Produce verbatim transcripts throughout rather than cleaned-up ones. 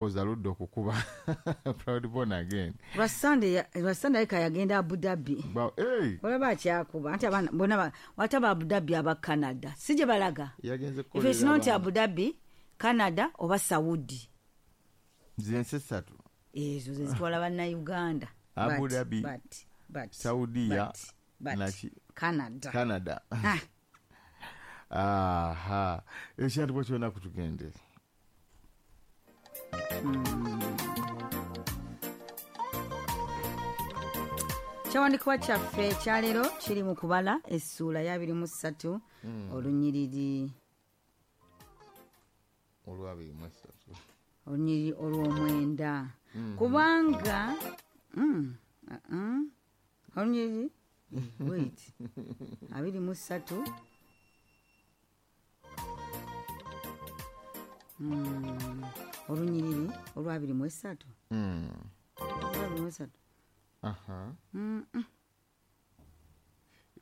Aludde okukuba Proud Born Again. Lwa Sunday, lwa Sunday ka yagenda Abu Dhabi. Ba, hey. Olaba akyakuba anti abaana bonna wataba Abu Dhabi aba Canada. Si gye balaga. Yagenze If it's not Abu Dhabi, Canada oba Saudi. Zensi essatu. Ezo ze zitwala bannayuganda. Abu But, Dhabi, but, but, Saudia, but, but, naki Canada. Canada. Ah. Aha. Ekyantibwa kyonna kutugende. Kyawandiikibwa kyaffe ekyaleero kiri mu kubala essuula ya abiri mu ssatu Mm. olunyiriri Olwabiri mu essatu. Olunyiriri olw'omwenda. Mm. Kubanga mm, uh-uh, olunyiriri wait abiri mu ssatu Mm, olunyiriri olwabiri mu essatu. Mm. Olwabiri mu essatu. Aha. Mm, mm.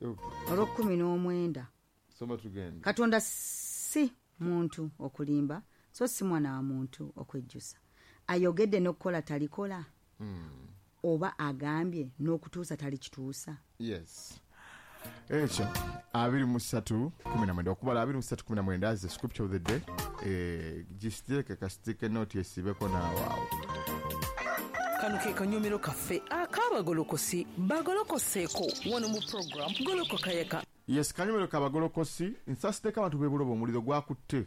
Okay. Olw'okkumi n'omwenda. Soma tugende. Katonda si muntu okulimba, so si mwana wa muntu okwejjusa. Ayogedde n'okukola talikola, Mm. oba agambye n'okutuusa talikituusa. Yes. Ekyo abiri mu ssatu kumi na mwenda okubala abiri mu ssatu kumi na mwenda is the scripture of the day. Eh, gisiteeke kasiteeke nooti esibeko n'awaawo. Kano ke kanyomero kaffe ak'abagolokosi bagolokoseeko wano mu program Golokoka Yeka. Yes, kanyomero k'abagolokosi nsasiddeko abantu b'e Buloba omuliro gwakutte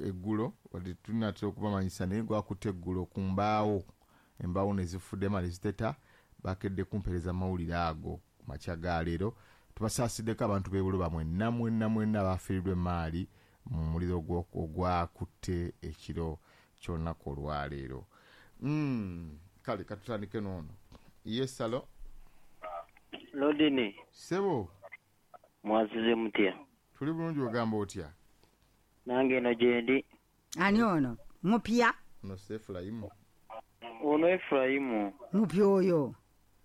eggulo, wadde tunaatera okubamanyisa naye gwakutte eggulo ku mbaawo, embaawo ne zifuddema ne ziteta, bakedde kumpeereza mawulire ago ku makya ga leero. Tubasaasiddeko abantu b'e Buloba mwenna mwenna mwenna bafiiriddwa emaali mu muliro ogwakutte ekiro ky'olunaku olwaleero. Mm, kale katutandike n'ono. Yes, hello. Lodini. Sebo. Mwasize mutya? Tuli bulungi, ogamba otya? Nange eno gyendi. Ani ono? Mupya? Ono si Efulayimu. Ono Efulayimu. Mupya oyo.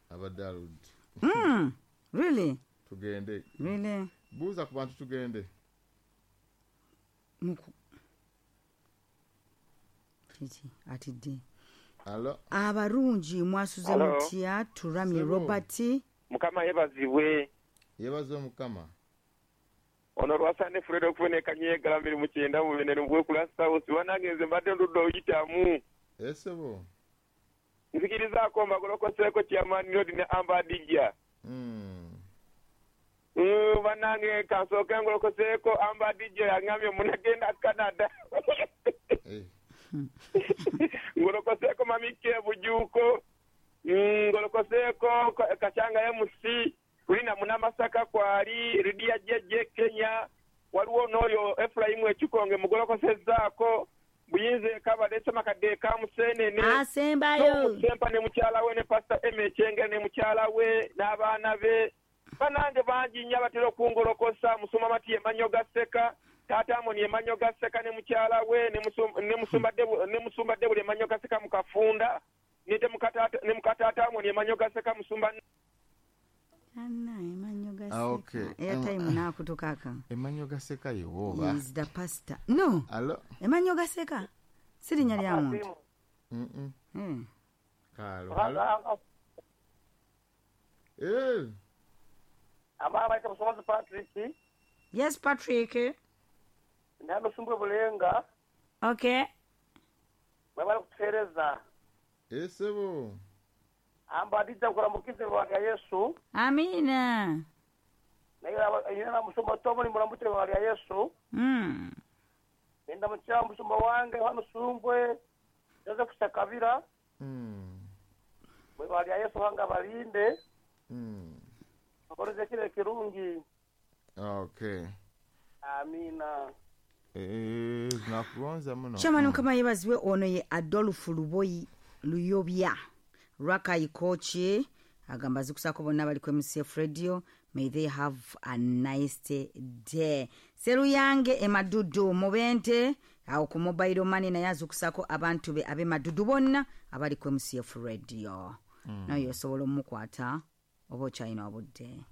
Abadde aludde. Mm, really? Tugende. Really? Buuza ku bantu tugende. Muku. Kiki atidde. Hello. Abarungi mwasuze mutya? Turamye Robert. Mukama yebazibwe. Yebaze Mukama. Ono lwasande Fred okuboneka nyegala mirimu kyenda mu binene mbwe South wanange nze mbadde ndudde oyitamu. Esebo. Nzikirizaako mbagolokoseeko Chairman Lord ne Amba Dijja. Mm. Mm, banange kansooke ngolokoseeko Amba Dijja yangambye munagenda Canada. Eh. Ngolokoseeko Mamike Bujuko. Mm, ngolokoseeko Kachanga M C. Ulina Munamasaka kwali Lidia J J Kenya waliwo n'oyo Efraimu Ekikonge mugolokosezaako Buyinze kabadde Semakadde Kamusenene asembayo Sempa ne mukyala we ne Pastor M Echenge ne mukyala we n'abaana be banange bangi nnyo abatera okungolokosa Musumba Mati Emanyo Gaseka Taata Amoni Emanyo Gaseka ne mukyala we ne Musumba ne Musumba Debuli Emanyo Gaseka mu Kafunda ne mukataata Amoni Emanyo Gaseka Musumba Anna Emanyo Gaseka. Ah, okay. Airtime nakutukaka. Emanyo Gaseka yewoba. Is the pastor. No. Hello. Emanyo Gaseka. Sirinya lya muntu. Mm. Mm. Kalo. Hello. Eh. Ama baita Musomazi Patrick. Yes, Patrick. Ndano sumbwe bulenga. Okay. Babala kutereza. Esebo. Ambadiza kuramukize wa Yesu. Amina. Na ina musumba tomo ni muramutire wa Yesu. Mm. Nenda mucha musumba wange hano sumbwe Joseph Sakabira. Mm. Mwe wa Yesu wanga balinde. Mm. Akoreze kile kirungi. Okay. Amina. Eh, nakugonza muno. Chama kama yebazwe ono ye Adolf Luboyi Luyobya. Raka Ikochi agamba zikusako bonna bali ku M C F Radio, may they have a nice day. Seruyange emadudu mubente awo ku mobile money naye azukusako abantu be abe madudu bonna abali ku M C F Radio. Mm. Nayo osobola omukwata oba okyalina obudde.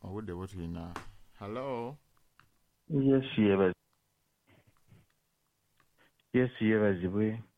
Obudde bwetulina. Hello. Yes, yebaz. Yesu yeebazibwe.